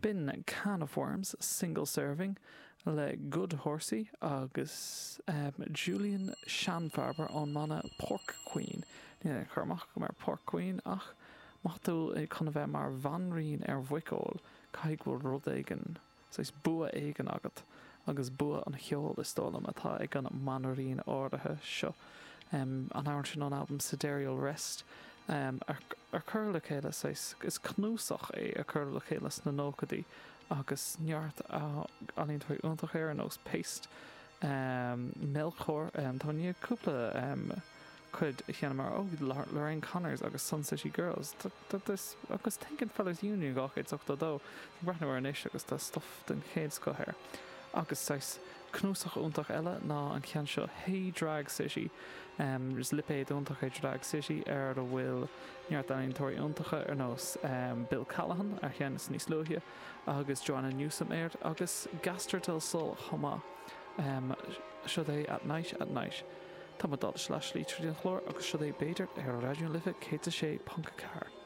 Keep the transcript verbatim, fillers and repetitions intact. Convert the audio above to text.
B'in Can of Worms, Single Serving le Good Horsey agus Julian Schanfarber ón mbanna Pork Queen. Níl aon chur amach agam ar Pork Queen ach má tá tú chun a bheith mar bhanríon ar mhuiceoil, caithfidh go bhfuil rud éigin, saghas bua éigin agat agus bua an cheoil is dóigh liom atá ag an mbanríon áirithe seo. An amhrán sin ón albam Sidereal Rest ar cuireadh le chéile saghas, is cnuasach é a cuireadh le chéile sna nóchaidí agus neart ealaíontóirí iontacha air ar nós Paste, Melchor, tá i ndiaidh cúpla cuid a sheinm mar, oh, Lorraine Connors agus Sun City Girls agus Thinking Fellas Union dhá chéad is ochtó dó, ag breathnú air anois agus tá stuff den chéad scoth air. Agus saghas cnuasach iontach eile ná an ceann seo Hey Drag City. Is lipéad iontach é Drag City ar a bhfuil neart ealaíontóirí iontacha ar nós Bill Callahan ar cheann is níos luaithe agus Joanna Newsom air agus Gaster del Sol chomh maith. Seo é At Night At Night. Tá muid dul leath slí tríd an chlár agus seo é b'fhéidir ar Raidió na Life céad a sé ponc a ceathair.